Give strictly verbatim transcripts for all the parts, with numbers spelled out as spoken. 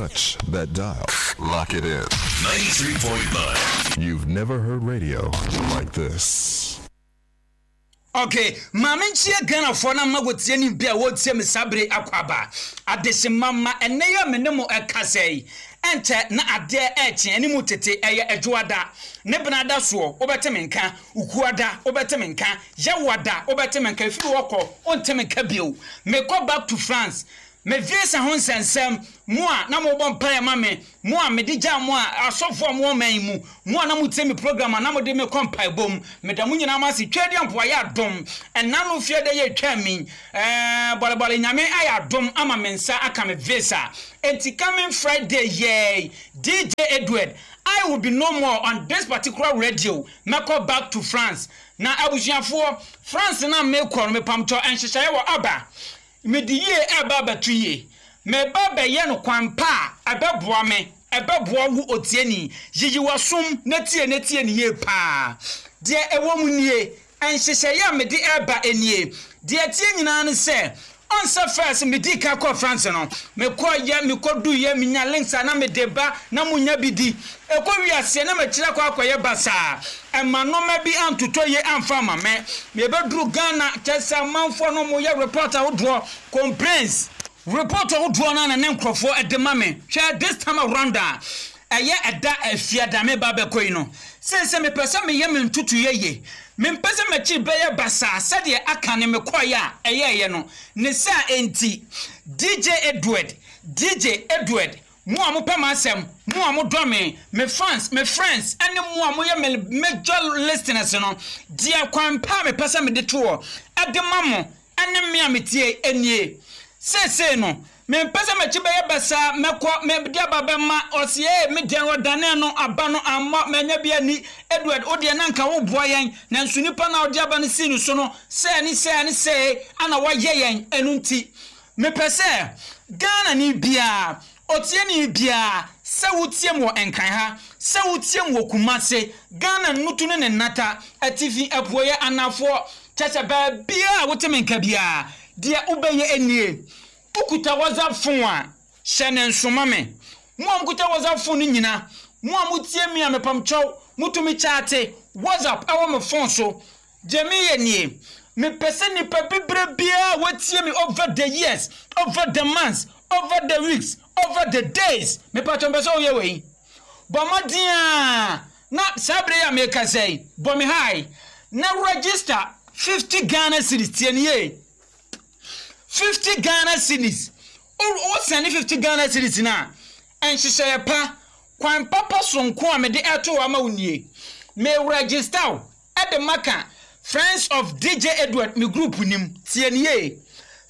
touch that dial. Lock it in. ninety-three point nine. You've never heard radio like this. Okay, maame nkyia Ghanafoɔ na mma wɔtie ne bi a wɔtie me saa bere akɔ aba adehyema ma ɛnɛ yɛ me ne mo ɛkasa yi ɛnkyɛ na adeɛ ɛɛkye anim tete ɛyɛ adwoada ne benada soɔ wobɛte me nka ukuada wobɛte me nka yɛwada wobɛte me nka efiri wɔkɔ wonte me nka bio. Mekɔ back to France me visa ho nsɛnsɛm mo a na mobɔ mpaeɛ ma me mo a mede gya mo a asɔfoɔ a mowɔ man mu mo a na motie me program a na mode me kɔ mpaebɔ mu meda mo nyinaa mo ase twɛ di ampo ayɛ adom ɛna no fie de yɛ twa mi ɛɛ bɔlebɔle nyame ayɛ adom ama me nsa aka me visa. Enti coming Friday yay D J Edward, I will be no more on this particular radio. Mɛkɔ back to France na abusuafoɔ France na mekɔ no mepamtɔ nhyehyɛeɛ wɔ aba mede yie ɛba abɛto yie meba bɛyɛ no kwan pa a ɛbɛboa me ɛbɛboa wo otieni yiyi wasom na tie na tie ne yie paa deɛ ɛwɔ mu nie nhyehyɛeɛ a mede ɛba nie deɛ tie nyinaa ne sɛ ɔnsɛ first medi ka kɔ France no mekɔ yɛ mekɔ du yɛ menya links a na mede ba na munya bi di ɛkɔ wiaseɛ na makyerɛ kɔ akɔyɛ basaa ɛma nɔɔma bi antotɔ yie amfa ama me mebɛduru Ghana kyɛ sɛ amanfoɔ no moyɛ report ahodoɔ complaints report ahodoɔ no na ne nkurɔfoɔ ɛde ma me hwɛ this time around a ɛyɛ ɛda afiada me ba bɛkɔ yi no sɛ sɛ mepɛ sɛ meyɛ me ntutu yɛ mempɛ sɛ m'akyi bɛyɛ basaa sɛdeɛ aka ne mekɔeɛ a ɛyɛɛyɛ no ne saa enti D J Edward D J Edward mo a mopɛ m'asɛm mo a modɔ me me fans me friends ɛne mo a moyɛ me major listeners no deɛ kwan pa a mepɛ sɛ mede toɔ ɛde ma mo ɛne me a metie nie seesei no mempɛ sɛ m'akyi bɛyɛ basaa mɛkɔ mede aba bɛma ɔse ee me deɛ ɔdane no aba no ammɔ manya bi ani Edward wo deɛ na nka woboa yɛn nanso nipa na ɔde aba no sii no so no sɛɛ ne sɛɛ ne sɛɛ ana wayɛ yɛn ɛno nti mepɛ sɛ Ghana ni biara otie ni biara sɛ wotie mu wɔ Nkran ha sɛ wotie mu wɔ Kumase Ghana nutu ne ne nata atifi apuoyɛ anafoɔ kyɛ sɛ baabiara a wote me nka biara deɛ wobɛyɛ nie wokuta WhatsApp phone a hyɛ ne nsoma me mo a mokuta WhatsApp phone no nyina mo a motie mi a mepamkyɛw motumi kyaate WhatsApp ɛwɔ me phone so gye meyɛ nie mepɛ sɛ nipa bebree biara watie me over the years over the months over the weeks over the days mepatɔ mpɛ sɛ woyɛ wei bɔ mmɔden a na saa bere yi a meka sɛ bɔ me hi na register fifty Ghana cedis tie ne yie fifty Ghana cedis o send fifty Ghana cedis na nhyehyɛeɛ pa kwan papa sonko a mede ɛto hɔ ama wo nie me register wo ɛde maka Friends of D J Edward me group nim tie ne yie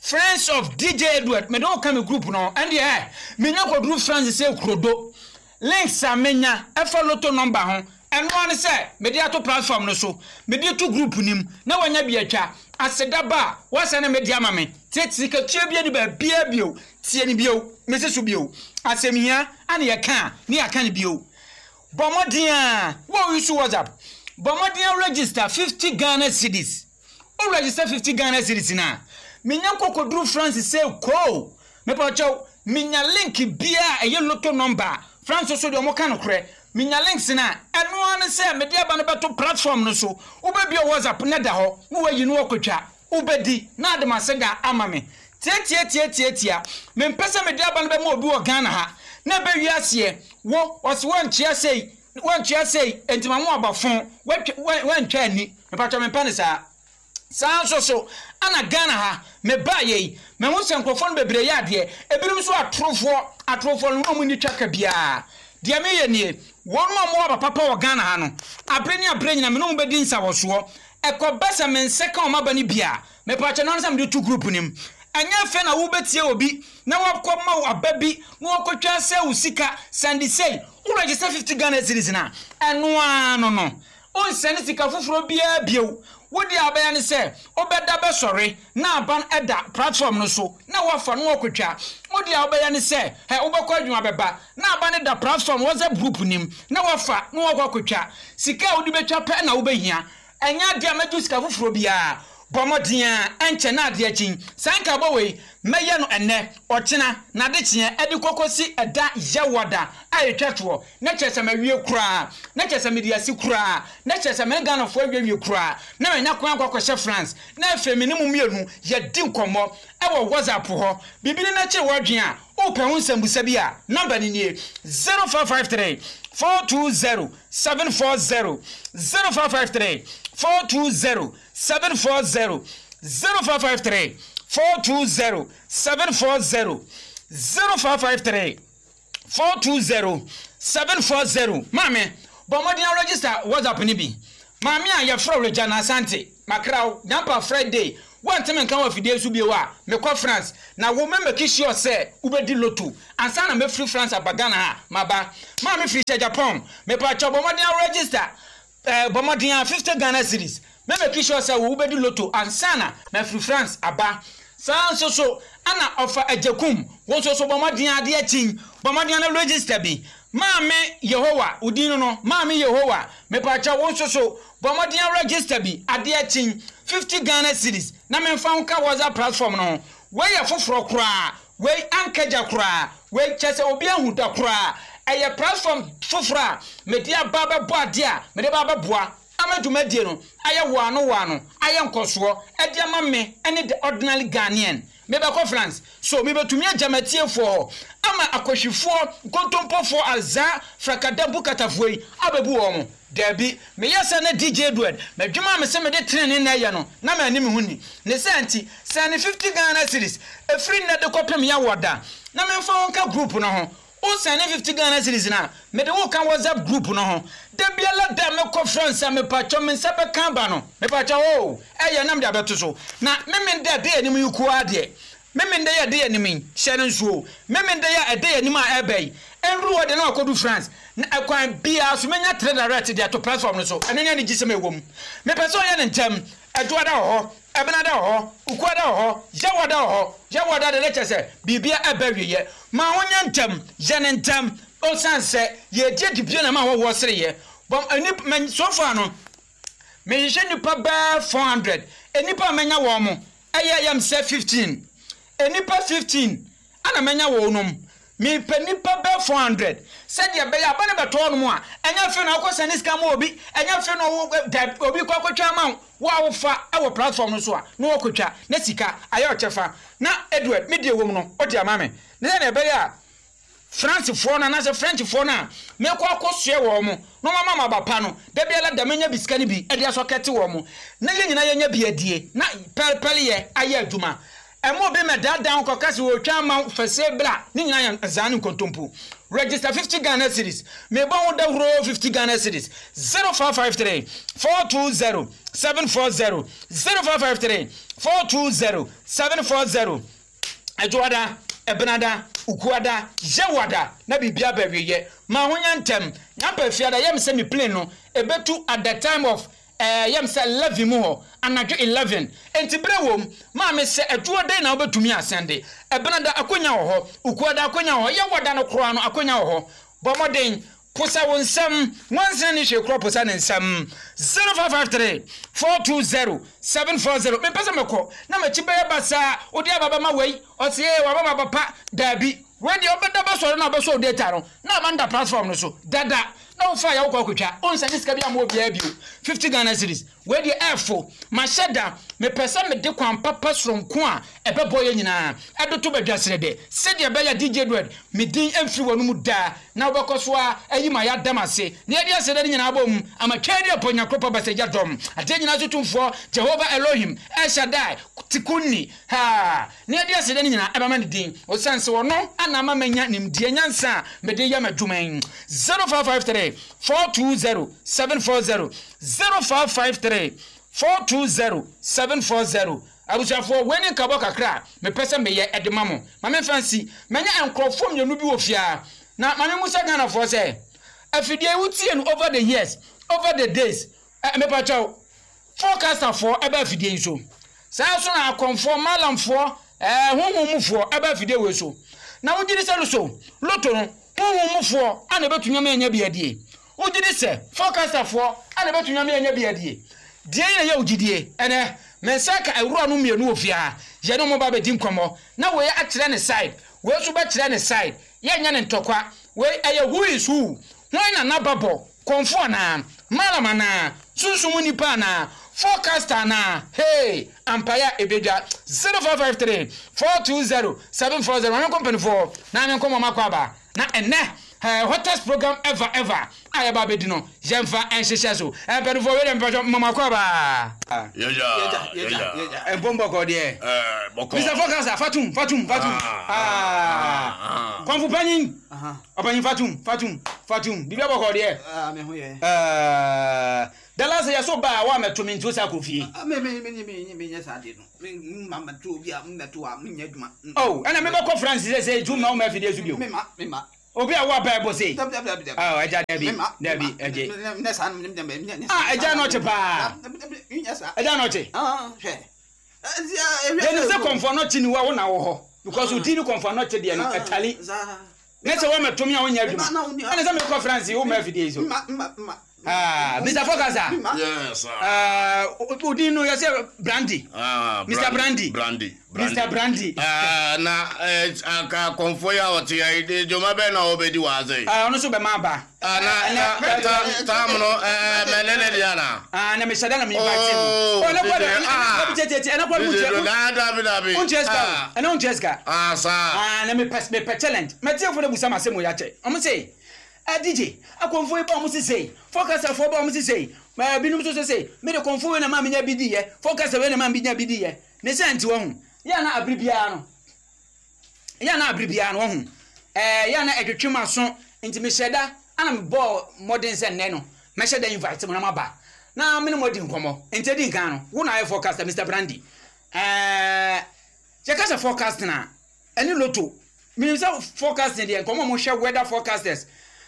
Friends of D J Edward mede wo ka me group no ɛndeɛ ɛ menya kɔduru France sɛ kurodo links a menya ɛfa lotto number ho ɛno ane sɛ mede ato platform no so mede to group nim na wanya bi atwa aseda ba a wɔsɛ ne mede ama me tie sikatua bi ani baabia bio tie ne bio mese so bio asɛm hia ane yɛka a ne yɛaka ne bio bɔ mmɔden a wo use WhatsApp bɔ mmɔden a register fifty Ghana cedis wo register fifty Ghana cedis na menya kɔkɔduru France sɛ koo mepɛ minya link bia ɛyɛ lotto number France so deɛ ɔmo ka nokorɛ minya links na ɛno ara ne sɛ mede aba no bɛto platform no so wobɛbia WhatsApp ne da hɔ na wayi no wakɔtwa wobɛdi na ade m'aseda ama me tie tie tie tie mempɛ sɛ mede aba no bɛma obi wɔ Ghana ha na ɛbɛwi aseɛ wo ɔse wantua sei wantua sei enti ma mo aba fon wantwa ani mepatwa mempɛ ne saa saa nso so ana Ghana ha me ba yei me ho sɛ nkurɔfoɔ no bebree yɛ adeɛ ebinom nso atorofoɔ atorofoɔ no wɔn ni twa ka biara deɛ meyɛ nie wɔn a wɔwɔ aba papa wɔ Ghana ha no abere ne abere nyina me ne wɔn bɛdi nsawɔsoɔ ɛkɔba sɛ me nsa ka wɔn aba no bia mepatwa no sɛ mede to group nim ɛnyɛ fɛ na wobɛtie obi na wakɔ ma wo aba bi na wakɔtwa sɛ wo sika sande sei wo register fifty Ghana cedis na ɛno ara no no onsɛne sika foforɔ biara bio wodi abɛyɛ ne sɛ wobɛda bɛsɔre na aban ɛda platform no so na wafa no wakɔtwa wodi abɛyɛ ne sɛ ɛ wobɛkɔ adwuma bɛba na aban da platform WhatsApp group nim na wafa no wakɔ akɔtwa sika a wode bɛtwa pɛ na wobɛhia ɛnyɛ adeɛ a mɛgye sika foforɔ biara Bɔ mmɔden a ɛnkyɛ na adeɛ akyi. Saa nkabɔ wei, mɛyɛ no ɛnnɛ, ɔkyena, na adekyeɛ ɛde kɔkɔsi ɛda Yɛwɔda a ɛtwa toɔ. Na kyerɛ sɛ mawie koraa, na kyerɛ sɛ mede asi koraa, na kyerɛ sɛ me Ghanafoɔ awiewie koraa, na manya kwan akɔ akɔhyɛ France, na afei me ne mo mmienu yɛdi nkɔmmɔ ɛwɔ WhatsApp hɔ. Biribi ne n'akyere w'adwene a, wopɛ ho nsɛmbusa bi a, number no nie: zero five five three four two zero seven four zero, zero five five three four two zero seven four zero, zero five five three four two zero seven four zero, zero five five three four two zero seven four zero. Maame, bɔ mmɔden a register WhatsApp no bi. Maame a yɛfrɛ Regina Asante, makraw Nyampa Friday, wɔnteme nka wɔ afidie so bio a mekɔ France na wo mɛ make sure sɛ wobɛdi lotto ansa na mɛfiri France aba Ghana ha. Maba maame firi hyɛ Japan, mepakyɛ, bɔ mmɔden a register ɛɛ bɔ mmɔden a fifty Ghana cedis, mɛ make sure sɛ wo wobɛdi lotto ansa na mafiri France aba. Saa nso so ana ɔfa Agyakum, wo nso so bɔ mmɔden adeɛ akyi, bɔ mmɔden no register bi. Maame Yehowa, wodin no no Maame Yehowa, mepakyɛ, wo nso so bɔ mmɔden register bi adeɛ akyi, fifty Ghana cedis, na memfa ho ka WhatsApp platform no ho. Wei yɛ foforɔ koraa, wei ankagya koraa, wei kyɛ sɛ obi ahu da koraa. Ɛyɛ platform foforɔ a mede aba bɛbɔ adeɛ a mede ba bɛboa ama dwumadie no ayɛ wɔano wɔano, ayɛ nkɔsoɔ ɛde ama me ɛne the ordinary Ghanaian. Mebɛkɔ France so, mebɛtumi agya matiefoɔ hɔ ama akɔhwifoɔ, nkontompofoɔ, azaa frakadampu katafoɔ yi abɛbu wɔn mo. Daabi, meyɛ sɛ ne D J Edward madwuma a mesɛ mede tenene na ɛyɛ no na maani me ho ni ne sɛ nti sɛ ne fifty Ghana cedis ɛfiri nnɛ de kɔpem yɛwɔ da na memfa wo nka group no ho. Wosɛne fifty Ghana cedis na mede wo ka WhatsApp group no ho. Da biara da mekɔ France a, mepatwɔ, me nsa bɛka aba no, mepatwɔ o, ɛyɛ nam de abɛto so. Na meme da ɛda anim yi koa deɛ, meme da yɛ ɛda anim yi, hyɛ no nsuo, meme da yɛ ɛda anim a ɛbɛ yi ɛnuru hɔ de na wakɔdu France na ɛkwan biara so menya three direct de ato platform no so. Ɛno ne anigye sɛm ɛwɔ mu. Mepɛ sɛ ɔyɛ ne ntɛm. Ɛdwoada wɔ hɔ, Ɛbenada wɔ hɔ, Ukuada wɔ hɔ, Yɛwɔda wɔ hɔ. Yɛwɔda de ne kyɛ sɛ biribia ɛbɛ wieɛ. Ma ho nyɛ ntɛm, yɛ ne ntɛm, ɔsiane sɛ yɛdi adibie na ma wɔwɔ sereyɛ bɔm ani. So far no, mehyehyɛ nipa bɛɛ four hundred. Nipa a mɛnya wɔn mo ɛyɛ yɛm sɛ fifteen, nipa fifteen ana mɛnya wɔn nom. Mepɛ nipa bɛɛ four hundred sɛdeɛ ɛbɛyɛ aba ne bɛtɔɔ no mu a, ɛnyɛ afei na wokɔ sɛne sika ma obi, ɛnyɛ afei na ɔwo obi kɔ akɔtwa ama wo. Wo a wofa ɛwɔ platform no so a na wɔkɔtwa na sika ayɛ ɔkyɛfa na Edward me deɛ wɔ mu no ɔde ama me ne sɛdeɛ ɛbɛyɛ a Francefoɔ no anaasɛ Frenchfoɔ no a mekɔ akɔsoɛ wɔn mo na wɔn ama aba pa no, da biara da menya bi sika no bi ɛde asɔ kɛte wɔn mo na yɛn nyinaa yɛnya bi adie na pɛrepɛreyɛ ayɛ adwuma. Ɛmo obi mɛ daadaa kɔka sɛ wɔtwa ama fɛsɛ bra ne nyinaa yɛ nzaa ne nkontompo. Register fifty Ghana cedis, mebɔ ho dawuro, fifty Ghana cedis, zero five five three four two zero seven four zero, zero five five three four two zero seven four zero. Adwoada, Ɛbenada, Ukuada, Yɛwada na biribia bɛweyɛ. Ma ho nya ntɛm. Nyampa Fiada yɛm sɛ me plane no ɛbɛtu at the time of ɛɛ yɛm sɛ eleven mu hɔ, anadwo eleven. Nti berɛ wom maame sɛ adwoɔ den na wobɛtumi asɛnde. Ɛbenada akonya wɔ hɔ, Ukuada akonya wɔ hɔ, Yɛwada no koraa no akonya wɔ hɔ. Bɔ mmɔden posa wo nsɛm wansena ne hwee korɔ, posa ne nsɛm, zero five five three four two zero seven four zero. Mempɛ sɛ mɛkɔ na makyi bɛyɛ basaa, wode aba bɛma wei, ɔse waba ma papa. Daabi, wei deɛ wobɛda bɛsɔre na wobɛsɔ wo data no na aba nda platform no so dada na wofa yɛ wokɔ akotwa, wonsɛne sika bi ama obiara bio. fifty Ghana cedis, wei deɛ ɛɛfo mahyɛ da. Mepɛ sɛ mede kwan papa soronko a ɛbɛbɔ yɛ nyinaa ɛde to badwa serɛ dɛ sɛdeɛ ɛbɛyɛ D J Edward me din mfiri wɔ no mu daa na wobɛkɔ so a ayi ma yɛadam ase na yɛde asɛ dɛ no nyinaa bɔ mu ama twɛn de apɔ Nyankopɔn basagya dɔm adeɛ nyinaa so tumfoɔ Jehovah Elohim El Shaddai Tikunni ha na yɛde asɛ dɛ no nyinaa ɛbɛma ne din, ɔsiane sɛ ɔno ana ama manya nimdeɛ nyansa a mede yɛ m'adwuma yi. zero five five three four two zero seven four zero, zero five five three four two zero seven four zero. Abusuafoɔ, wei ne nkabɔ kakra a mepɛ sɛ meyɛ ɛde ma mo. Ma memfa nsi manya nkurɔfoɔ mmienu bi wɔ fie na ma memu sɛ Ghanafoɔ sɛ afidie wotie no over the years, over the days. Ɛ mepakyɛw, forecasterfoɔ ɛbɛ afidie yi so, saa nso na akɔmfoɔ, malamfoɔ, ɛɛ honhommufoɔ ɛbɛ afidie wei so. Na wogye di sɛ loso lotto no, honhommufoɔ ana ɛbɛtumi ama anya bi adie? Wogye di sɛ forecasterfoɔ ana ɛbɛtumi ama anya bi adie? Deɛ na yɛ wo gyidie. Ɛnɛ me nsa ka awura no mmienu wɔ fie ha. Yɛne ɔmo ba bɛdi nkɔmmɔ na wei akyerɛ ne side, wei nso bɛkyerɛ ne side. Yɛnyɛ ne ntɔkwa. Wei ɛyɛ who is who. Hwan na n'aba bɔ? Kɔnfo anaa? Malam anaa? Sunsum nipa anaa? Forecaster anaa? Hey, ampaya ebedwa. zero five five three four two zero seven four zero. Maame nkɔ mpanimfoɔ na maame nkɔ mɔmɔ akɔ aba na ɛnɛ uh, hottest program ever ever a yɛba abɛdi no, yɛmfa nhyehyɛ so. Mpanimfoɔ, wei deɛ mpatwɔ mɔmɔ akɔ aba. Yɛgya, yɛgya. Mpɔmpɔkɔ deɛ. Ɛɛ, bɔkɔ. Mister Forecaster, fatum fatum fatum. Ah, Ah. ah, Kɔnfo panyin, ɔpanyin, fatum fatum fatum. Biribi abɔkɔ deɛ. Ah, me ho yɛ. Ɛɛ, dala sɛ yɛso ba a wa mɛto me nti wo sa kɔ fie. Ah, me me me me me nyɛ saa de no. Me ma ma to obi a mmɛto a menyɛ adwuma. Oh, ɛna mebɛkɔ France sɛ sɛ tu ma wo ma afidie so bio. Me ma me ma. Obi a wo aba ɛbɔ sei. Dabi, dabi, dabi, dabi. Oh, ɛgya, dabi. Me ma. Dabi, ɛgye. Ne saa no me me me. Ah, ɛgya na ɔkye paa. Nyɛ saa. Ɛgya na ɔkye. Ah, hwɛ. Yɛnim sɛ kɔnfɔ no kye ni wa wo na wɔ hɔ because wo ti ni kɔnfɔ no kye deɛ no ɛtali ne sɛ wɔmɛto me a wonyɛ adwuma. Ma na wo ni- Ɛne sɛ mekɔ France wo ma afidie so. Ma ma ma. Ah, Mister Forecaster. Yes, sir. Ah, odin no yɛsɛ Brandy. Ah, Mister Brandy. Brandy. Mister Brandy. Ah, na eh, aka kɔnfo yi a ɔte ya yi de joma bɛn na ɔbɛdi wɔ ase yi? Ah, ɔno nso bɛma aba. Ah, na na ta tam no ɛɛ mɛ ne ne deɛ na. Ah, na mehyɛ da na me invite Oh, no. Oh, ɛnɛ kɔ D J, ah. dɛ, ɛnɛ ɛnɛ kɔ D J, dɛ, da dabi dabi. wontua sika Ah, o, ɛnɛ wontua sika. Ah, saa. Ah, na mepɛ mepɛ challenge. Mɛtiefo no busa ma asɛm wɔ yɛakyɛ. Ɔmo se ah, D J, akɔnfo yi ba, ɔmo sesei forecasterfoɔ ba, ɔmo sesei ɛɛ binom nso sesei mede kɔnfo wei na maa menya bi di yɛ, forecaster wei na maa menya bi di yɛ. Ne sɛ nti wɔho yɛ na abere biara no, yɛ na abere biara no wɔho ɛɛ yɛ na ɛtwetwe ma so. Nti mehyɛ da ana mebɔɔ mmɔden sɛ nnɛ no mɛhyɛ da invite mo na maba na mene mo adi nkɔmmɔ. Nti adi nkan no, wo na ayɛ forecaster, Mister Brandy. Ɛɛ yɛka sɛ forecasting a, ɛne lotto, menim sɛ forecasting deɛ nkɔmmɔ a mohwɛ weather forecasters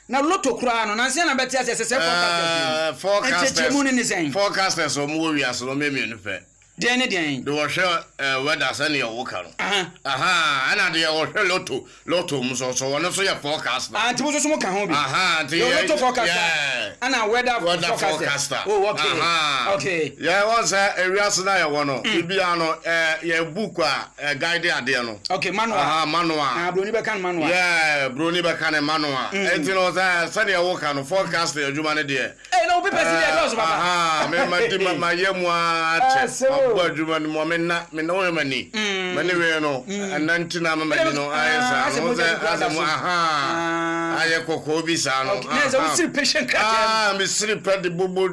na lotto koraa no nansa na bɛte aseɛ sɛ sɛ Eh, forecasters forecasters nkyɛkyerɛmu no ne sɛn? Forecasters a wɔn wɔ wiase no, wɔn mmienu pɛ. Deɛn ne deɛn? De wɔhwɛ ɛɛ weather sɛnea wɔka no. Aha. Aha, ɛna deɛ wɔhwɛ lotto lotto mu so so wɔn nso yɛ forecaster. Ah, nti mo nso so mo ka ho bi? Aha, nti yɛ yɛ- lotto forecaster yeah. ana weather weather forecaster. Forecaster. Oh, okay. Aha. Okay. Yɛ wɔn sɛ ewiase na yɛwɔ no, biribiara no, ɛɛ yɛ book a ɛ guide adeɛ no. Okay, manual. Aha, manual. Ah, broni bɛka no manual. Yɛ broni bɛka ne manual. Eti no sɛ sɛdeɛ wɔka no, forecasting adwuma no deɛ. Ee, na obi pɛ si deɛ dɔɔso papa. Aha, me ma di ma ma yɛ mu Ah, akyɛ. so. Ma bɔ adwuma no mu a, me na me na wɔyɛ ma ni. Ma ne wei no, ɛna nti na ma ma ni no ayɛ Ah, saa. asɛ No mogya sɛ bi koraa da asɛ mu so. aha. Ah. Ayɛ kɔkɔɔ bi saa no. Okay, na sɛ Aha. wosiri patient krataa mu. Ah, me siri pɛ de bobo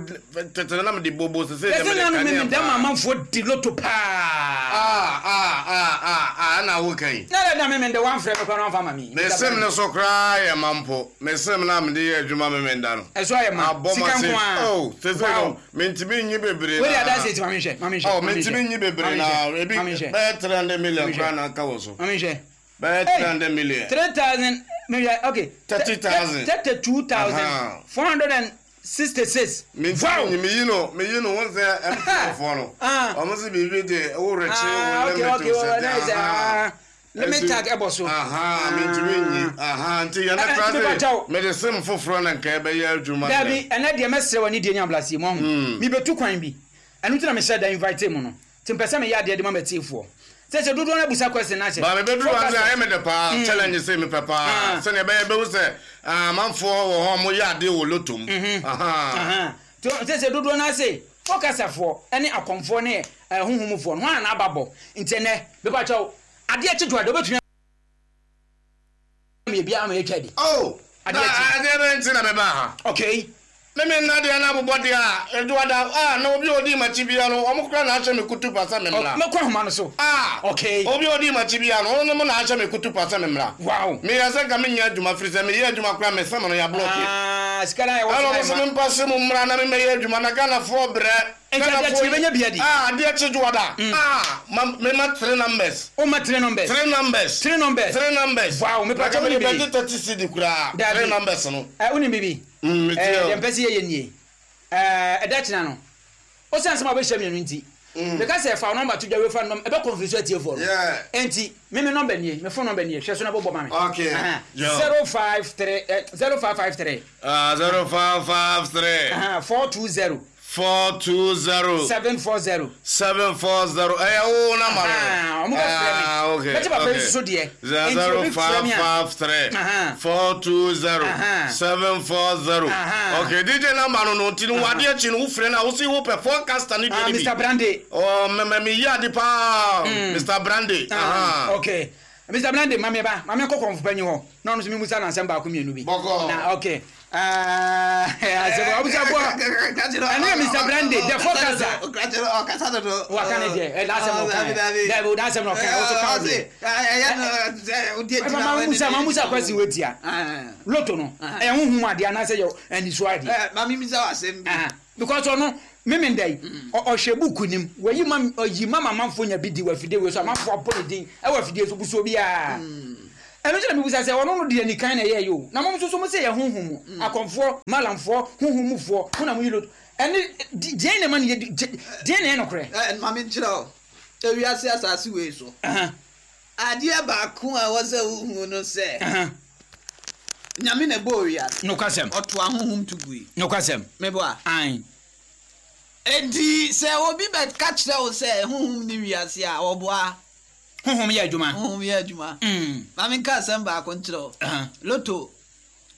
tete na me de bobo sese de yɛsɛ me de nanu kanea mimi dɛm paa. amanfoɔ di lotto paa. Ah, ah, ah, ah, ah, ɛna wo kan yi. Na dɛ na mimi de wamfrɛ me koraa na wamfa ma mi. Me sim ne so koraa yɛ ma mpo. Me sim na me de yɛ adwuma me me da no. Ɛso ayɛ ma Abɔ sika ma se. nko a. Oh, sese Wow. no, mentumi nyi bebree Wei de na. adanse ti, ma mi nhwɛ, ma mi nhwɛ. Oh, ma mi mentumi nhwɛ. nyi bebree Ma mi na. nhwɛ, Ebi ma mi nhwɛ. bɛyɛ three hundred million Ma mi koraa nhwɛ. na aka wɔ so. Ma mi nhwɛ. Bɛyɛ Hey, three hundred million. three thousand mi hwɛ, okay. Thirty thousand. Thirty two thousand Aha. four hundred and sixty six. Mentumi nyi, meyi no, meyi no, wɔn sɛ M T N foɔ no. Ah. Ɔmo sɛ biribi de wo rekye Ah, wo okay limit okay o well, sɛ nice. Ah, limit tag ɛbɔ so. Aha, mentumi nyi. Aha, nti yɛn Eh, eh, kora nti mepa sɛ kyɛw. mede sim foforɔ na nka ɛbɛyɛ adwuma. Dabi, ɛnɛ deɛ mɛsrɛ wɔ ne deɛ ne ablaseɛ mu ahu mebɛtu kwan bi. Ɛno nti na mehyɛ da invite mu no, nti mpɛ sɛ meyɛ adeɛ de ma matiefoɔ sɛ sɛ dodoɔ no abusa question no ahyɛ. Ba mebɛduru wa sɛ ayɛ me de paa challenge sɛ mepɛ paa Ah. sɛnea ɛbɛyɛ bɛhu sɛ ah, amanfoɔ wɔ hɔ a moyɛ adeɛ wɔ lotto mu. Aha. Aha. Nti sɛ sɛ dodoɔ no ase forecasterfoɔ ne akɔmfoɔ ne eh, honhomfoɔ no hɔ a n'aba bɔ. Nti ɛnɛ mepakyɛw, adeɛ kye to adeɛ wobɛtumi ama yɛ biara ama yɛtwa bi. Oh, Adeɛ na kye. adeɛ bɛ nti na mebaa ha. Okay. Meme nna deɛ na abobɔ deɛ a ɛduada a na obi a ɔdi makyi bia no, ɔmo kora na ahyɛ me kutu pa sɛ memmra. Mɛkɔ ahoma no so. Ah, Okay. obi a ɔdi makyi bia no, ɔno mo na ahyɛ me kutu pa sɛ memmra. Wow. Meyɛ sɛ nka menyɛ adwuma firi sɛ meyɛ adwuma kora mesɛm no yɛablɔke. Ah, sika no a yɛwɔ ɛna so ɔmo na sɛ ɛma. mempa se mu mmra na memɛyɛ adwuma na Ghanafoɔ brɛ. Nti adeɛ kye yɛbɛnya bi adi. Ah, adeɛ kye dwoada. Ah, ma mema three numbers. Woma three numbers? Three numbers. Three numbers. Three numbers. Wow, mepa kyɛw, mede wonim bɛgye thirty cedi koraa. Dabi. Three numbers no. Eh, wonim bibi? Mm, metie Eh, o. deɛ mpɛ sɛ yɛyɛ nie. Eh, ɛda kyena no, wosiane sɛ ma wobɛhyia mmienu nti, meka sɛ fa wo number to dwa, wefa number ɛbɛ confuse atiefoɔ no. Yeah. Enti me me number nie, me phone number nie, hwɛ so na bɔbɔ ma me. Okay. Aha. Yo. zero five three eh, zero five five three. Ah, zero five five three. Aha, four two zero. four two zero seven four zero. seven four zero. Ɛyɛ wo number no. Ah, ɔmo bɛ frɛ mi. Ah, okay. Bɛti papa yi okay. soso deɛ. Nti Zero obi frɛ five mi a. five three Aha. four two zero Aha. seven four zero. Aha. Okay, DJ number no no nti no adeɛ akyi no wofrɛ no a wosi wopɛ forecaster ne Ah, deɛ Mr no bi. Brande. Oh, mɛmɛ mi yi ade paa. Mr Brande. Ah, Aha. okay. Mr Brande, maame ba, maame kɔ kɔnfo panyin hɔ. Na ɔno nso mi musa na nsɛm baako mmienu bi. Bɔkɔ. Na okay. Ah, asɛm abusuafoɔ. Ɛno yɛ Mr Brande, the forecaster. Ɔkasa dodo. Waka ne deɛ, ɛ n'asɛm na ɔka yɛ. Dɛbi, n'asɛm na ɔka yɛ, ɔso ka wo deɛ. Ɛyɛ Ɛ, mama musa, mama musa kwasi wo tia. Loto no, ɛyɛ huhum adeɛ anaasɛ yɛ aniso adeɛ. Mami misa wa asɛm bi. Ah, because ɔno mímí da yi ɔ- ɔhwɛ buku nim wɔyi ma ɔyi ma ma amanfo nya bi di wɔ afidie wei so amanfo abɔ ne din ɛwɔ afidie so busuo biara ɛno nso na mi busa sɛ ɔno no deɛ nikan na ɛyɛ yi o na mo nso so mo sɛ yɛ huhum mu akɔnfoɔ malamfoɔ huhum mufoɔ mo na mo yi loto ɛne di- deɛ na ma ne yɛ di- gye- deɛ na ɛyɛ nokorɛ. Ɛ mami nkyerɛ o. Ewiase asase wei so. Ahan, Adeɛ baako a ɛwɔ sɛ wohu no sɛ ahan. Nyame na ɛbɔɔ wiase. Nokwasɛm. Ɔto ahohom to gui. Nokwasɛm. Meboa. Ayi. Enti sɛ obi bɛka kyerɛ wo sɛ honhom ne wiase a ɔboa Huhum yɛ adwuma. honhom yɛ adwuma. Mm. Mami nka asɛm baako nkyerɛ wo. Ahan. Loto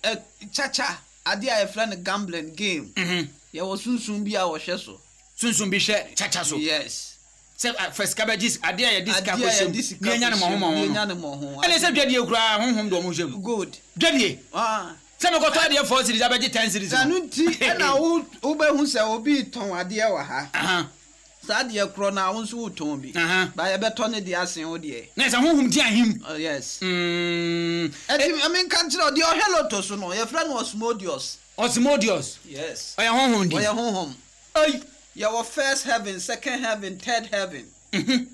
ɛ kyakya adeɛ a yɛfrɛ no gambling game. Mhm. Yɛwɔ sunsun bi a wɔhwɛ so. Sunsun bi hwɛ kyakya so. Yes. Sɛ a, fɛ sika bɛgye adeɛ a yɛde sika Adeɛ a kɔhyɛ yɛde mu sika ne yɛnya ne kɔhyɛ mu, mmɔho ne yɛnya mmɔho ne mmɔho. ɛne sɛ dwadie koraa honhom de ɔmo hyɛ mu Good. dwadie Ah. sɛ mekɔtɔ adeɛ four series abɛgye ten series Sɛ no nti ɛna wo wobɛhu sɛ obi tɔn adeɛ wɔ ha. Aha, Saa adeɛ korɔ no a wo nso wotɔn bi. aha. Ba yɛbɛtɔ ne deɛ asen wo deɛ. Na sɛ honhom di ahim Oh, yes. Mm, Ɛti menka nkyerɛ wo deɛ ɔhwɛ loto so no yɛfrɛ no Osmodius. Osmodius Yes. ɔyɛ honhom di Ɔyɛ honhom. Ai. Yɛwɔ first heaven, second heaven, third heaven. Mhm.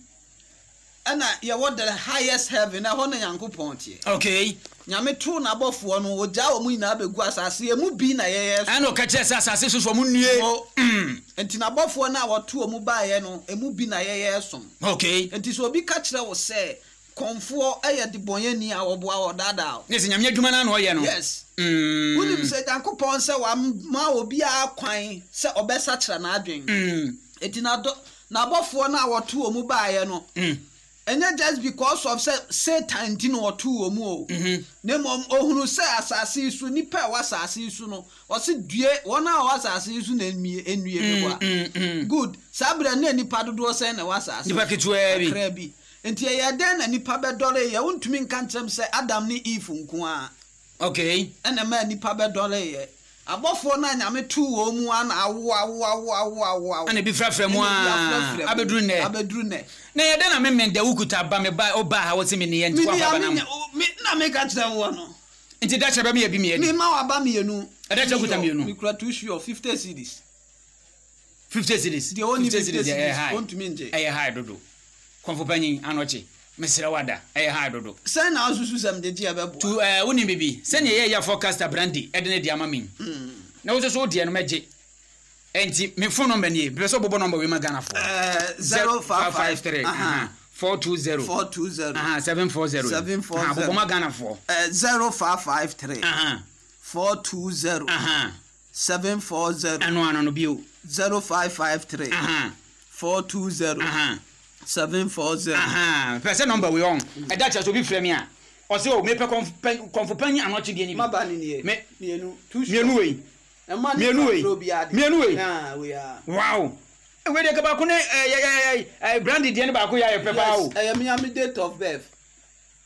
Ɛna yɛwɔ the highest heaven ɛhɔ na Nyankopɔn teɛ. Okay. Nyame too n'abɔfoɔ no ogyaa wɔn nyinaa bɛgu asase emu bi na yɛyɛ so. Ɛna ɔka kyerɛ sɛ asase so so ɔmo nnue. Mo- Mm, Nti n'abɔfoɔ no a wɔto wɔn baeɛ no emu bi na yɛyɛ som. okay. Nti sɛ obi ka kyerɛ wo sɛ kɔnfoɔ ɛyɛ debɔnyɛni a wɔboa wɔ daadaa wo. Ne sɛ nyame adwuma no na ɔyɛ no. Yes. Mm, Wonim sɛ Nyankopɔn sɛ wama obiara kwan sɛ ɔbɛsakyera n'adwen. mm, Nti n'adɔ n'abɔfoɔ no a wɔto wɔn baeɛ no mm, ɛnyɛ just because of sɛ Satan nti na wɔto wɔn mu o. mhm. Na mmom ohunu sɛ asase yi so nipa a ɛwɔ asase yi so no ɔsi due wɔn a wɔwɔ asase yi so na enue enue Mm, bi mm, mm. Good saa abirɛ ne nipa dodoɔ sɛn na ɛwɔ asase Nipa ketewaa bi. kakra bi nti ɛyɛ dɛn na nipa bɛdɔre yɛ wontumi nka nkyerɛm sɛ Adam ne Eve nko a Okay. ɛna ɛma nipa bɛdɔre yɛ abɔfoɔ no a Nyame too wɔn mu a na awo awo awo awo awo awo Ɛna ebi frafra mu Ɛna ebi a afrafra mu. abɛduru nnɛ. abɛduru nnɛ Na yɛ dɛn na memmen da wokuta ba me ba ɔbaa ha wɔse me ne yɛ nti mini woafa a ba na menya- o- me na meka kyerɛ woɔ no nti da kyerɛ bɛ meyɛ bi meyɛ mema waba mmienu Ɛda kyerɛ kuta mmienu. mekura two sure fifty cedis fifty cedis. Deɛ ɔnni fifty cedis fifty deɛ ɛyɛ cedis, high. ɔntumi ngye. Ɛyɛ high dodo. Kɔnfo panyin anɔkye mesrɛ wada ɛyɛ high dodo. Sɛn na asusu sɛm de gye ɛbɛboa Tu ɛɛ wonim bibi sɛnea ɛyɛ yɛ forecaster brandy ɛde ne de ama me. Hmm. Na wo nso so wo deɛ no mɛgye. Ɛnti me phone number nie bɛpɛ sɛ wobɔbɔ number wei ma Ghanafoɔ. Eh, zero five five three aha, four two zero four two zero aha, seven four zero Seven four Aha, zero. bobɔ ma Ghanafoɔ. Eh, zero five five three Aha, four two zero aha. seven four zero Ɛno ano no bio. zero five five three Aha, four two zero aha. seven four zero. Aha, pɛ sɛ number wei ɔn ɛda kyerɛ sɛ obi frɛ me a ɔsɛ o mepɛ kɔnfo kɔnfo panyin anɔkye deɛ ni bi Maba ni nie. Me- Mmienu two sure. mmienu wei Ɛma ne mmienu wei. fa obiara de. Mmienu wei. Ah, wei a. Wow, wei deɛ ka baako ne ɛɛ ɛɛ ɛɛ brandy deɛ ne baako yɛ ayɛ pɛ paa o. Yes, ɛyɛ mi ami date of birth.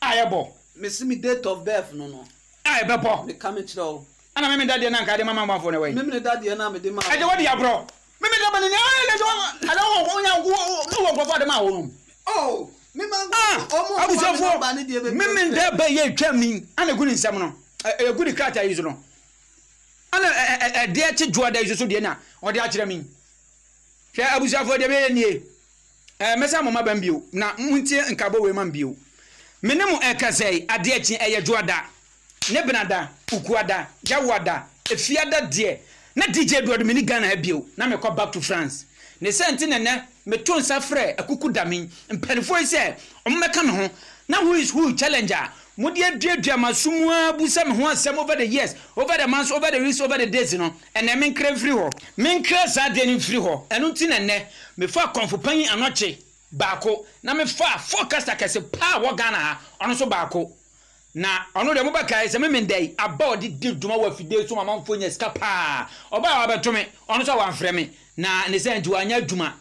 A yɛ bɔ. Mesi mi date of birth no no. A yɛ bɛ bɔ. Meka mi kyerɛ o. Ɛna mímí da deɛ na nka de mama amanfoɔ ne wɔ yi. Mímí da deɛ na mi de ma. Ɛdɛ wɔde aborɔ mímí da bɛ ne ɛɛ ɛdɛ wɔ ɛdɛ wɔ wɔ nya wɔ ne wɔ nkurɔfoɔ de ma wɔn nom. Oh, mi ma Ah, ɔmo abusuafoɔ mímí da bɛ yɛ twɛ mi ana egu ne nsɛm no ɛ egu ne krataa yi so no ana ɛ ɛ ɛdeɛ kye dwoa da yi so so deɛ na ɔde akyerɛ mi hwɛ abusuafoɔ deɛ bɛyɛ nie ɛɛ mɛsa mo ma bɛn bio na mo ntie nkabɔ wei ma bio me ne mo ɛkasa yi adeɛ kye ɛyɛ dwoa da ne benada ukuada yawoada efiada deɛ na DJ Edward me ni Ghana ha bio na mekɔ back to France ne sɛ nti nɛnɛ meto nsa frɛ akuku dame mpanimfoɔ yi sɛ ɔmo mɛka me ho na who is who challenge a Mode aduadua m'aso mu ara bisa me ho asɛm over the years, over the months, over the weeks, over the days no, ɛnnɛ menkra mfiri hɔ. Menkra saa adeɛ no mfiri hɔ. Ɛno nti na nnɛ mefaa Kɔmfo Panyin Anɔkye baako na mefaa forecaster kɛse paa wɔ Ghana ha, ɔno nso baako. Na ɔno deɛ mobɛkae sɛ Memenda yi aba a ɔde di dwuma wɔ afidie so ma amanfoɔ nya sika paa. Ɔbaa a wabɛto me, ɔno nso a wamfrɛ me, na ne saa nti wanyɛ adwuma.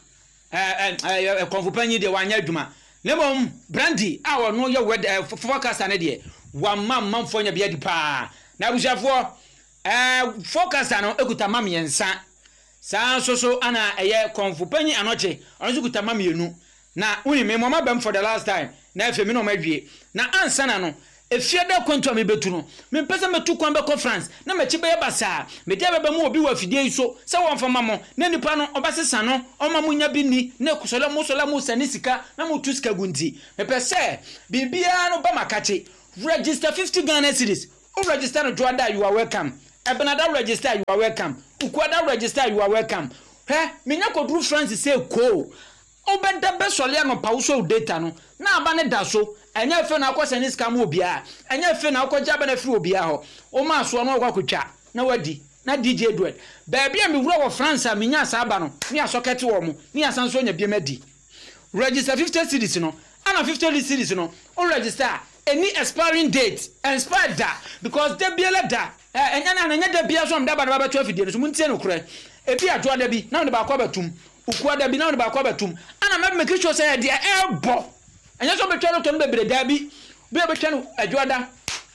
Ɛɛ ɛɛ Kɔmfo Panyin deɛ wanyɛ adwuma. Na mmom Brandy a ɔno yɛ wɛd ɛɛ forecaster no deɛ, wama amanfoɔ anya bi adi paa. Na abusuafoɔ, ɛɛ forecaster no kuta mma mmiɛnsa. Saa nso so ana ɛyɛ Kɔmfo Panyin Anɔkye, ɔno nso kuta mma mmienu. Na wonim me, mmoa m'abam for the last time, na afei me ne wɔn awie. Na ansa na no, efie da akwantu a mebetu no, mempɛ sɛ metu kwan bɛkɔ France na m'akyi bɛyɛ basaa. Mede aba bɛma obi wɔ afidie yi so sɛ wɔmfa mma mo, na nipa no ɔbɛsesa no, ɔmma monnya bi nni, na sɔle a mosɔle a mosane sika na motu sika gu nti, mepɛ sɛ biribiara no ba m'akakye. Register fifty Ghana cedis, wo register no Dwoada a, you are welcome, Ɛbenada register a, you are welcome, Ukuada register a, you are welcome. Hwɛ, menya kɔduru France sei koo, Wobɛda bɛsɔre anɔpa wosɔ wo data no na aba no da so, ɛnyɛ afei na wokɔ sɛne sika ma obiara, ɛnyɛ afei na wokɔgye aba no afiri obiara hɔ, woma asoɔ na wakɔ akɔtwa na wadi. Na D J Edward, baabi a mewura wɔ France a menyaa saa aba no, ne asɔkɛte wɔ mo, ne yɛasan nso anya biam adi. Register fifty cedis no, ɛna fifty cedis no, wo register a, ɛnni expiring date, ɛnspire da, because da biara da, ɛnyɛ na ɛnyɛ da biara nso na mede aba no ba bɛto afidie no so, montie nokorɛ, ebi a dwoada bi na mede baako abɛtom, Ukuada bi na wode baako abɛtom. Ana mɛ make sure sɛ deɛ ɛrebɔ. Ɛnyɛ sɛ wobɛtwa lotto no bebree, daabi. Bi a wobɛtwa no Adwoada,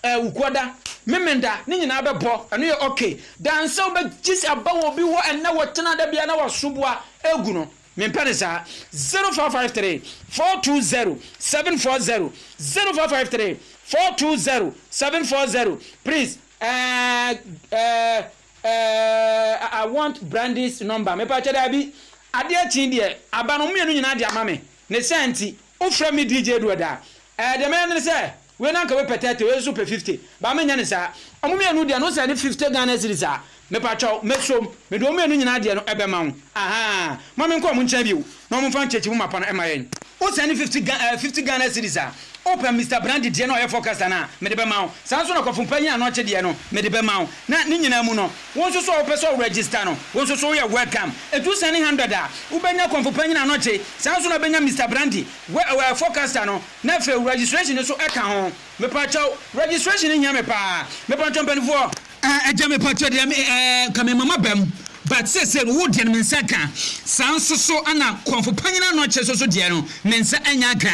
ɛɛ Ukuada, Memenda, ne nyinaa bɛbɔ. Ɛno yɛ okay. Dan sɛ wobɛgye sɛ aba wɔ obi hɔ ɛnnɛ wɔtena da biara na wasoboa egu no. Mempɛ no saa. Zero five five three four two zero seven four zero zero five five three four two zero seven four zero Please ɛɛ ɛɛ. Eh I want Brandy's number mepakyɛ daabi adeɛ kye deɛ aba no mmienu nyinaa de ama me ne saa nti wofrɛ me D J Edward a eh deɛ mɛyɛ ne sɛ wei na anka wei pɛ thirty wei nso pɛ fifty ba menyɛ ne saa ɔmo mmienu deɛ no sɛ ne fifty Ghana cedis a mepakyɛw mɛsom mede ɔmo mmienu nyinaa deɛ no ɛbɛma wo ahaa ma menkɔ ɔmo nkyɛn bio na ɔmo mfa nkyɛkyɛ mu mapa no ɛma yɛn. Wo sɛne fifty Ga eh fifty Ghana cedis a, wopɛ Mister Brandy deɛ no a ɔyɛ forecaster no a, mede bɛma wo. Saa nso na Kɔfo Panyin Anɔkye deɛ no, mede bɛma wo. Na ne nyinaa mu no, wo nso so a wopɛ sɛ wo register no, wo nso so woyɛ welcome. Ɛtu sɛne hundred a, wobɛnya Kɔmfo Panyin Anɔkye, saa nso na wobɛnya Mister Brandy, wɛ eh forecaster no, na afei wo registration no nso ka ho. Mepakyɛw, registration no hia me paa. Mepakyɛw mpaninfoɔ. Eh agya mepakyɛw deɛ me eh nka me mama bam but seesei no wo deɛ no me nsa ka saa nso so ɛna kɔnfo panyin anɔkye nso so deɛ no me nsa anya ka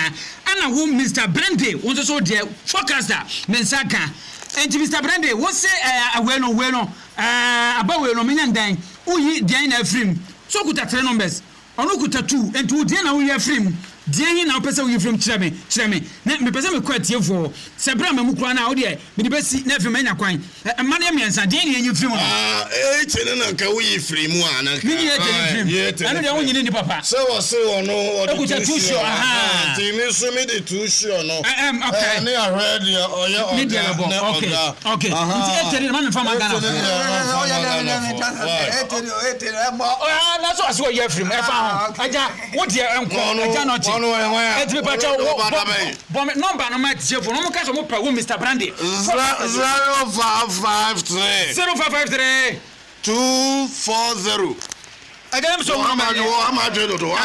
ɛna wo Mister Brande wo nso so deɛ forecaster me nsa ka enti Mister Brande wo se eh wei no wei no eh aba wei no menya ndɛn woyi deɛn na afiri mu so kuta three numbers Ɔno kuta tu, enti wo deɛn na woyi afiri mu? Deɛn he na wopɛ sɛ woyi firi mu? Kyerɛ me, kyerɛ me, na mepɛ sɛ mekɔ atiefoɔ hɔ. Sɛ berɛ amma mu koraa no a, wo deɛ, mede bɛsi, na afei manya kwan. Ɛ, mma no yɛ mmiɛnsa, deɛn na yɛnyi mfiri mu no? Ah, eight no na nka woyi firi mu a, na nka. Menyi eight no mfiri mu. Aye, eight no Ɛno deɛ firi wonyini nni papa. Sɛ wɔse ɔno ɔde Ekuta two two sure, sure, ahaa, ahaa. nti me nso mede two sure no. Ɛ, ɛm, okay. Ɛ, ne ahwɛ deɛ ɔyɛ Ne deɛ ɔga bɛbɔ, ne okay, ɔga. okay. Nti Ahaa, eight no deɛ ma memfa mma eight no Ghanafoɔ. deɛ mamfa mma Ghanafoɔ. Why? Ah, na so ase wɔyi afiri mu, ɛfa ho. Agya, wo deɛ nkɔ, agya na ɔkye. Eti mi pakyɛ wo, bɔ, bɔ me nɔmba no ma atiefo no, wɔn ka sɛ wɔn pɛ wo Mister Brandy. Zero five five three. Zero five five three. Two four zero. Agya na mi sɛ wɔn nɔmba deɛ.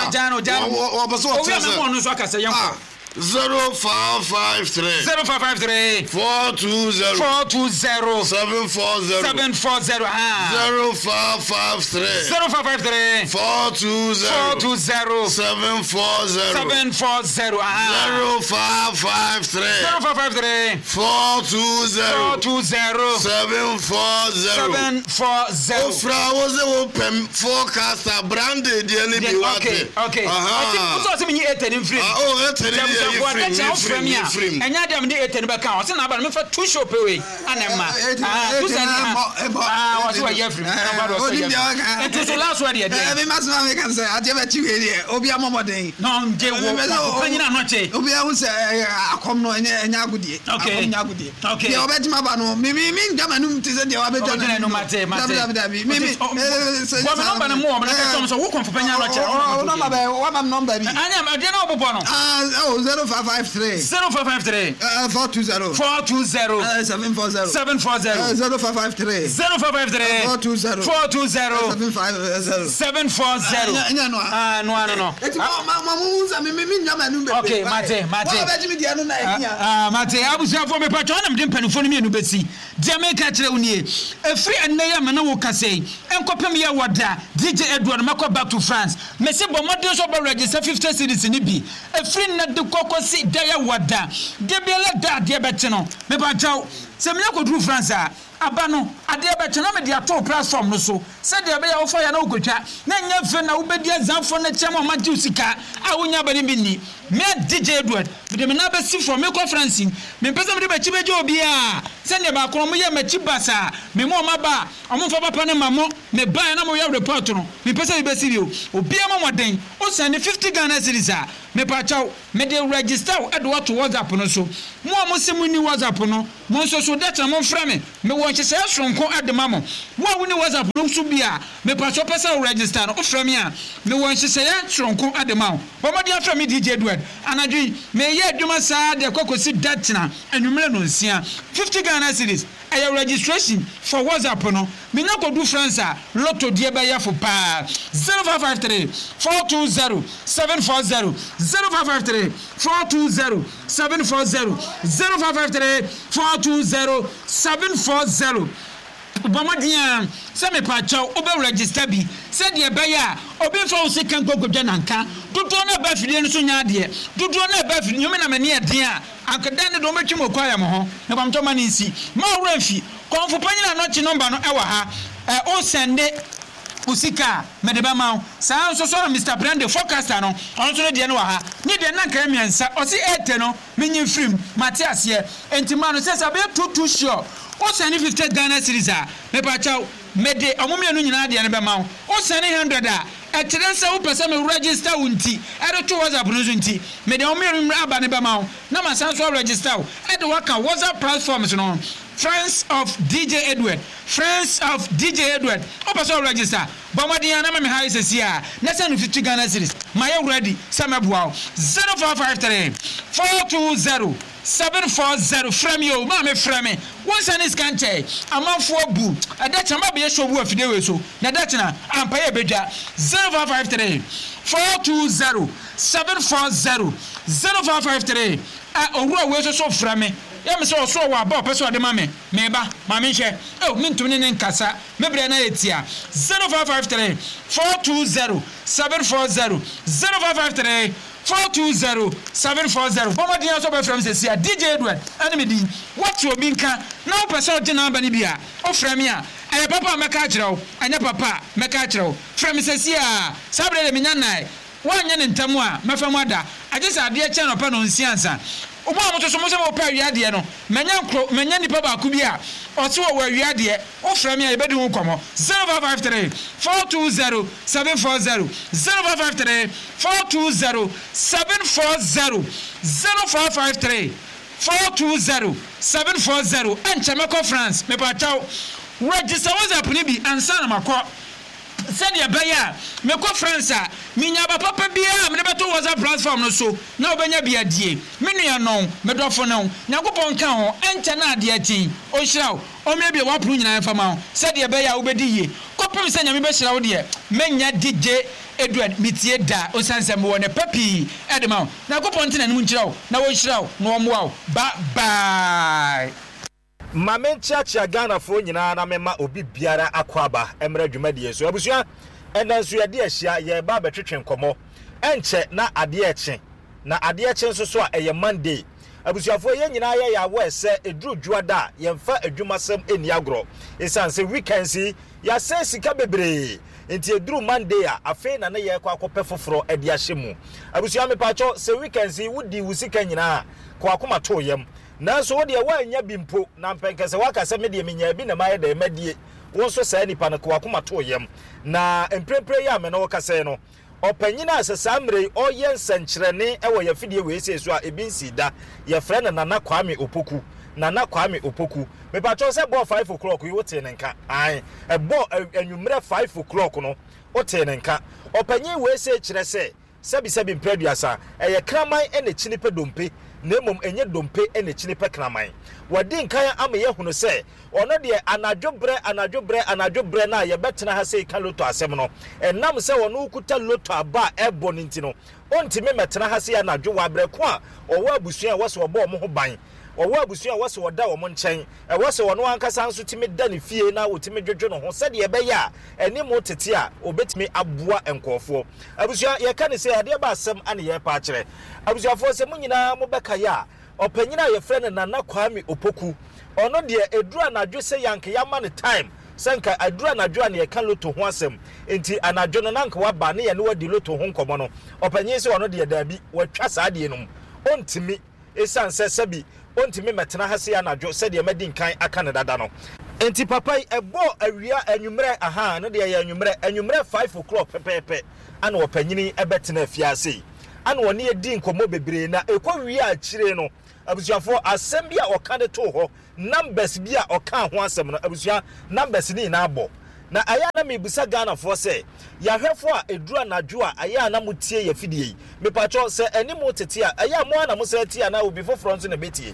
Agya no, agya no. Owi a mɛmu ɔno nso aka sɛ yɛn kɔ. Zero five five three. Zero five five three. Four two zero. Four two zero. Seven four zero. Seven four zero. Ah. Zero five five three. Zero five five three. Four two zero. Four two zero. Seven four zero. Seven four zero. Ah. Zero five five three. Zero five five three. Four two zero. Four two zero. Seven four zero. Seven four zero. Ofra wo se wo pem forecaster brandy deɛ ne bi wate. Okay okay. Aha. Ɔsi ɔsi mi nyi eight ni nfiri. Ah oh eight ni deɛ. Ɛnyɛ adeɛ a mede eight no bɛka ho. Ɔse n'aba no memfa two show pɛ wei ana ɛma. Ah, two sɛ ah, ɔse wɔyɛ afiri mu. Ɛna ɔse wɔyɛ afiri mu. Nti so last word yɛ deɛ. Ɛmi ma soma mi kan sɛ adeɛ bɛ kyi wei deɛ obi amɔ mɔden. Na ɔngye wo panyin ano kye. Obi ahu sɛ akɔm no ɛnyɛ ɛnyɛ agodie. Okay. Akɔm nyɛ agodie. Okay. Deɛ ɔbɛtuma ba no mi mi mi ngya ma num ti sɛ deɛ wabɛgya n'anum. Mate mate. Dabi dabi dabi mi mi. Bɔ mi nɔmba no mu wɔ mi na kɛtɛ ɔmo sɛ wo kɔnfo panyin ano kye. Ɔ nɔmba bɛ wama mi nɔmba bi. Anya adeɛ na ɔbobɔ no. Ah oh zero five five three. zero five five three. Uh, four two zero. four two zero. Uh, seven four zero. seven four zero. Uh, zero five five three. zero five five three. four two zero. four two zero. seven five zero. seven four zero. Ɛnyɛ no a. Ah, no ano no. Eti ma ma ma mo nsa mi mi mi nya ma nu bebree. Okay, mate, mate. Wɔn a bɛgye mi deɛ no na ɛhia. Ah, mate, abusuafoɔ mepatwa wo na mede mpanimfoɔ no mmienu bɛsi. Deɛ meka kyerɛ wo nie, ɛfiri ɛnnɛ yi a me ne wo kasa yi, ɛnkɔpem yɛ wɔ da, D J Edward mɛkɔ back to France. Mese bɔ mmɔden sɛ wobɛ register fifty cedis no bi. Ɛfiri nnɛ de kɔ kɔsi da yɛ wɔ da, da biara da adeɛ bɛkye no. Mepatwa wo, sɛ menya kɔduru France a, aba no, adeɛ bɛkye na mede ato wo platform no so, sɛdeɛ ɛbɛyɛ a wofa yɛ na wokɔtwa, na ɛnyɛ afei na wobɛdi azanfoɔ no akyi ama wɔagye wo sika a wonya aba no bi nni. Me D J Edward, mede me nan bɛsi fam, mekɔ France yi, mempɛ sɛ mede m'akyi bɛgye obiara, sɛdeɛ baako no wɔyɛɛ m'akyi basaa, me mu wɔn aba a, wɔmfa papa no mma mo, mebaeɛ na moyɛ report no, mempɛ sɛ bi bɛsi bio. Obiara mmɔ mmɔden, wo sɛnde fifty Ghana cedis a, mepakyɛw, mede register wo de wo ato WhatsApp no so. Mo a mose monni WhatsApp no, mo nso so, da kyena momfrɛ me, mewɔ nhyehyɛeɛ soronko de ma mo. Wo a wonni WhatsApp no so bi a, mepakyɛw wopɛ sɛ wo register no, wofrɛ me a, mewɔ nhyehyɛeɛ soronko de ma wo. Bɔ mmɔden afrɛ me D J Edward. Anadwo yi, mereyɛ adwuma saa de kɔ kɔsi da kyena anwummerɛ nnɔnsia. fifty Ghana cedis, ɛyɛ registration for WhatsApp no. Menya kɔdu France a, lotto deɛ bɛyɛ fo paa. zero five five three four two zero seven four zero, zero five five three four two zero seven four zero, zero five five three four two zero seven four zero. Bɔ mmɔden a sɛ mepakyɛw wobɛ register bi sɛdeɛ ɛbɛyɛ a obi mfa wo sika nkɔkɔdwa nanka. Dodoɔ no ɛba afidie no so nyɛ adeɛ, dodoɔ no ɛba afidie nyome na m'ani ɛden a anka ne deɛ wɔbɛtwi mu kɔ ayɛ mo ho. Mepamtɔ ma ne nsi ma ɔwerɛ mfi kɔnfo panyin a nɔkye number no ɛwɔ ha. Ɛ o sɛnde o sika a mede bɛma wo saa nso so na Mister Brande forecaster no, ɔno nso no deɛ no wɔ ha. Ne deɛ na nkae mmiɛnsa ɔsi ɛɛtɛ no menyi mfirim mate aseɛ nti ma no sɛ sɛ abɛyɛ too too sure. O sɛnde fifty Ghana cedis a, mepakyɛw, mede ɔmo mmienu nyinaa deɛ no bɛma wo. O sɛnde hundred a, ɛkyerɛ sɛ wopɛ sɛ me register wo nti ɛde to WhatsApp no so nti mede ɔmo mmienu aba no bɛma wo na ma san so register wo ɛde waka WhatsApp platforms no, Friends of D J Edward, Friends of D J Edward. Wopɛ sɛ ɔregister, bɔ mmɔden a na ma me ha yi sɛsi a na sɛ no fifty Ghana cedis. Ma yɛ ready sɛ mɛboa wo. zero five five three four two zero seven four zero. Frɛ me o, maa me frɛ me. Wo nsa ne sika nkyɛn amanfoɔ bu ɛda kyena ma bɛyɛ show bu afidie wei so na ɛda kyena ampa yɛ bɛdwa. zero five five three four two zero seven four zero, zero five five three. Ɛ owura wei nso so frɛ me yɛ me sɛ ɔso ɔwɔ aba ɔpɛ sɛ ɔde ma me. Meba ma menhwɛ ɛ mentumi ne ne nkasa, me berɛ na yɛ tia. zero five five three four two zero seven four zero, zero five five three four two zero seven four zero. Bɔmmɔden aso bɛfrɛ me sɛsi a D J Edward ɛne me din. Woate obi nka na wopɛ sɛ ɔgye n'aba no bi a, wofrɛ me a, ɛyɛ papa a mɛka akyerɛ wo, ɛnyɛ papa a mɛka akyerɛ wo. Frɛ me sɛsi a saa berɛ de menya nnae. Woanyɛ ne ntɛm a mɛfa mu ada agye sɛ adeɛ kyɛn ɔpɛ no nsia nsa. Mo a moto so mo sɛ mopɛ awia deɛ no, manya nkoro manya nipa baako bi a ɔse wɔ wɔ awia deɛ. Wofrɛ me a yɛbɛdi ho nkɔmmɔ. zero five five three four two zero seven four zero, zero five five three four two zero seven four zero, zero five five three four two zero seven four zero. Ɛnkyɛ mɛkɔ France. Mepakyɛw, register WhatsApp no bi ansa na makɔ sɛdeɛ ɛbɛyɛ a mekɔ France a menya aba papa biara a mede bɛto WhatsApp platform no so na wobɛnya bi adie. Me nua no, medɔfo no, Nyankopɔn ka ho. Ɛnkyɛ na adeɛ akyin ɔnhyira wo, ɔmmiebie w'apono nyinaa mfa ma wo sɛdeɛ ɛbɛyɛ a wobɛdi yie kɔpem sɛ Nyame bɛhyira wo. Deɛ mɛnya D J Edward metie da osiane sɛ mewɔ ne pa pii ɛde ma wo. Nyankopɔn nte n'anim nkyerɛ wo na wɔnhyira wo na wɔmmoa wo. Bye bye. Ma menkyeakyea Ghanafoɔ nyinaa na mema obi biara akɔ aba mmerɛ dwumadie so. Abusua, ɛnɛ nso yɛde ahyia, yɛreba abɛtwetwe nkɔmmɔ. Ɛnkyɛ na adeɛ kye na adeɛ kye nso so a ɛyɛ Monday. Abusuafoɔ, yɛn nyinaa yɛyɛ awɔ sɛ ɛduru dwoada a yɛmfa adwumasɛm ɛnni agorɔ ɛsiane sɛ weekends yi yɛasɛe sika bebree nti ɛduru Monday a afei na ne yɛrekɔ akɔpɛ foforɔ de ahyɛ mu. Abusua, mepaakyɛw, sɛ weekends yi wodi wo sika nyinaa kɔ akoma too yam, nanso wo deɛ woannya bi mpo na mpɛnkɛ sɛ woaka sɛ medeɛ menyaa bi na mayɛ dɛn madie wo nso saa nipa no kɔ akoma too yam. Na mprempren yi a me ne wo kasɛe no, ɔpanyin a sɛ saa mmerɛ yi ɔyɛ nsɛnkyerɛnne wɔ yɛfidie wei sei so a ebi nsii da, yɛfrɛ no Nana Kwame Opoku. Nana Kwame Opoku, mepakyɛw, sɛ bɔɔ five o'clock yi wotee ne nka ae, ɛbɔ anwummerɛ five o'clock no wotee ne nka. Ɔpanyin wei sei kyerɛ sɛ Sɛbisɛbi mprɛ aduasa, ɛyɛ kraman na ɛkyini pɛ dompe, na mmom ɛnyɛ dompe na ɛkyini pɛ kraman. Wadi nkan ama yɛahunu sɛ ɔno deɛ anadwo berɛ, anadwo berɛ, anadwo berɛ no a yɛbɛtena ha sei ka loto asɛm no, ɛnam sɛ ɔno kuta loto aba a ɛbɔ no nti no, ɔntumi mmɛtena ha sei anadwo wɔ aberɛ ko a ɔwɔ abusua a ɛwɔ sɛ ɔbɔ wɔn ho ban. Ɔwɔ abusua a ɛwɔ sɛ ɔda wɔn nkyɛn. Ɛwɔ sɛ ɔno ankasa nso tumi da ne fie na ɔtumi dwodwo ne ho sɛdeɛ ɛbɛyɛ a anim tete a ɔbɛtumi aboa nkurɔfoɔ. Abusua, yɛka no sei, adeɛ ba asɛm na yɛrepa akyerɛ. Abusuafoɔ, sɛ mo nyinaa mobɛkae a, ɔpanin a yɛfrɛ no Nana Kwame Opoku, ɔno deɛ ɛduru anadwo sɛ yɛanka yɛama no time sɛ nka ɛduru anadwo a na yɛka loto ho asɛm nti anadwo no na nka waba ne yɛne wadi loto ho nkɔmmɔ no, ɔpanin sɛ ɔno deɛ daabi, watwa saa adeɛ no mu, ɔntumi. Esiane sɛ sɛbi ontumi mmɛtena ha sei anadwo sɛdeɛ madi nkan aka no dada no nti, papa yi, ɛbɔɔ awia anwummerɛ, ahaa, ɛno deɛ ɛyɛ anwummerɛ, anwummerɛ five o'clock pɛpɛɛpɛ ana ɔpanyini yi bɛtenaa fie ha sei, ana ɔne yɛ dii nkɔmmɔ bebree, na ɛkɔ wiee akyire no, abusuafoɔ, asɛm bi a ɔka de too hɔ, numbers bi a ɔkaa ho asɛm no, abusua, numbers no nyinaa bɔ. Na ɛyɛ a na mebisa Ghanafoɔ sɛ, yɛahwɛfoɔ a ɛduru anadwo a ɛyɛ a na motie yɛn afidie yi, mepakyɛw sɛ ɛne mo tete a, ɛyɛ a mo ara na mosan tie anaa obi foforɔ nso na ɛbɛtie?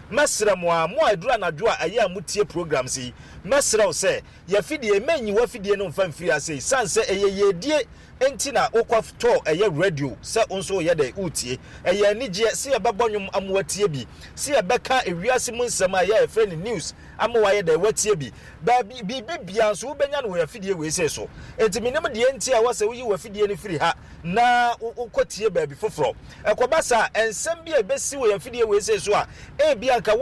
Mɛsrɛ mo ara, mo a ɛduru anadwo a ɛyɛ a motie programs yi, mɛsrɛ wo sɛ, yɛn afidie yi, mɛnyi w'afidie no mfa mfiri ase esiane sɛ ɛyɛ yiedie nti na wokɔ tɔɔ ɛyɛ radio sɛ wo nso woyɛ dɛn woretie. Ɛyɛ anigyeɛ sɛ yɛbɛbɔ nnwom ama woatie bi, sɛ yɛbɛka ewiase mu nsɛm a ɛyɛ a yɛfrɛ no news ama woayɛ dɛn woatie bi. Baabi, biribi biara nso wobɛnya no wɔ afidie wei sei so. Enti mennim deɛ nti a ɛwɔ sɛ woyi w'afidie no firi ha na wokɔtie baabi foforɔ. Ɛkɔba saa a, nsɛm bi a ɛbɛsi wɔ yɛn afidie wei sei so a ebia anka wo